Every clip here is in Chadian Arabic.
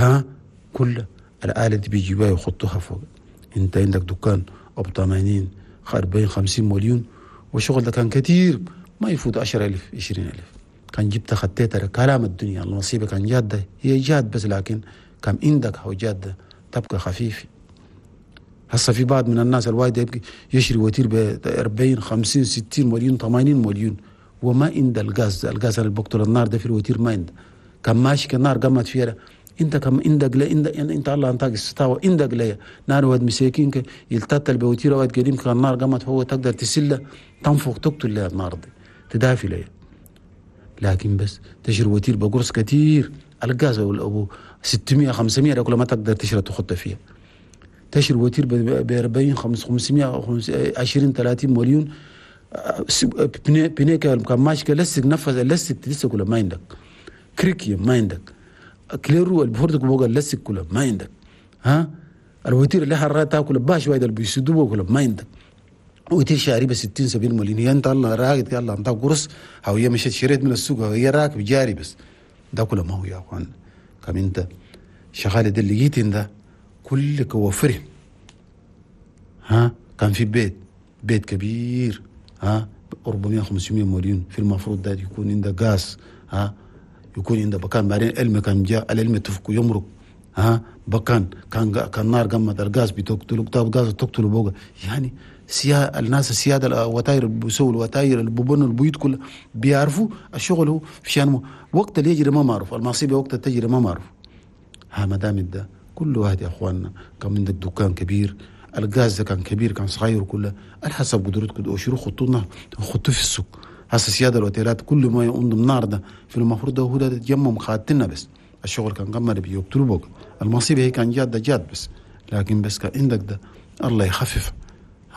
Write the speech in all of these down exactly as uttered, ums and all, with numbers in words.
ها كل الآلة دي بيجيبوها يحطوها فوق. انت عندك دكان ابو ثمانين أربعين خمسين مليون، والشغل ده كان كتير ما يفوت عشرة ألف عشرين ألف. كان جبت خطيت كلام الدنيا المصيبة كان جادة، هي جاد بس، لكن كان عندك هو جادة تبقى خفيف. هسه في بعض من الناس الوايد يبقى يشري وتير ب أربعين خمسين ستين مليون ثمانين مليون، وما عند الغاز، الغاز اللي بقتل النار ده في الوتير ما عنده. كان ماشي كالنار قامت فيها، انت كم عندك لا عندك انت الله انتاك الستاوة عندك لا نار واد مساكين يلتتل بوتير واد قديم كان النار قامت هو تقدر تسله تنفخ تقتل لها النار دي تدافي لها. لكن بس تشري وتير بقرص كتير الغاز ابو ستمية خمسمية كل ما تقدر تشري تخط فيها. تشري وتير ب أربعين خمسمية عشرين ثلاثين مليون بنيك كان ماشي لسك نفذ لسك لسه كله ما عندك، كريكي ما عندك، كليرو البفردك بوغا لسك كله ما عندك، ها الوتير اللي حرات تاكل باش وايد اللي بيسدوه كله ما عندك. وتير شاري ب ستين سبعين مليون، هي انت الله راقد الله انت قرص او هي مشيت شريت من السوق هي راكب جاري بس ده كله ما هو يا اخوان. كم انت شغال ده اللي جيت ده كلك وفره. ها كان في بيت بيت كبير ها أربعمية خمسمية مليون في المفروض ده يكون عندك غاز، ها يكون عندك بكان بعدين علم كان جاء العلم تفك يمرق، ها بكان كان كان نار قمت الغاز بتقتلك طاب غاز تقتل بوغا. يعني سيا الناس السيادة الوتاير اللي بيسووا الوتاير اللي بيبنوا البيوت كلها بيعرفوا الشغل هو في وقت اللي يجري ما معروف، المصيبة وقت تجري ما معروف. ها ما دام ده كل واحد يا اخواننا كان عندك دكان كبير الغاز ده كان كبير كان صغير كله على حسب قدرتكم وشيروا خطونا خطوه في السوق. هسه سيادة الوتيلات كل ما يقوم النار ده في المفروض ده هو ده تجمم خاتنا بس الشغل كان قمر بيقتلوا بوك المصيبة هي كان جاد ده جاد بس، لكن بس كان عندك ده الله يخفف.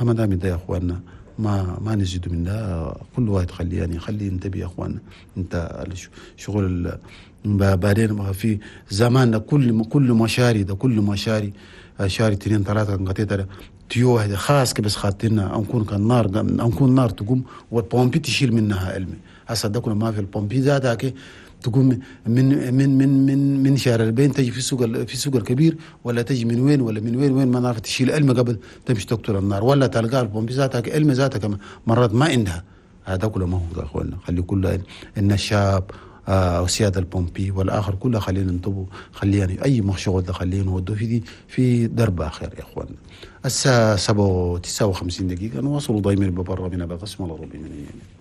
ما دام ده يا اخواننا ما ما نزيد من ده كل واحد خليه يعني خليه ينتبه يا اخواننا. انت شغل بعدين في زماننا كل كل مشاري ده كل مشاري شاري اثنين ثلاثة قطيت تيو واحدة خاص بس خاطرنا نكون كان نار نكون نار تقوم والبومبي تشيل منها علمي. هسه ده كله ما في البومبي ذاتك تقوم من من من من من شارع البين تجي في السوق في السوق الكبير ولا تجي من وين ولا من وين وين ما نعرف تشيل علم قبل تمشي تقتل النار ولا تلقى البومبي ذاتك علم ذاتك مرات ما عندها. هذا كله ما هو يا اخواننا خلي كله ان الشاب آه وسيادة البومبي والآخر كله خلينا ننتبه، خلينا يعني أي مشغول ده خلينا نودوا في دي في درب آخر يا إخواننا. الساعة سبعة وتسعة وخمسين دقيقة نواصل ضايمين ببرا من بقسم الله ربي من يعني.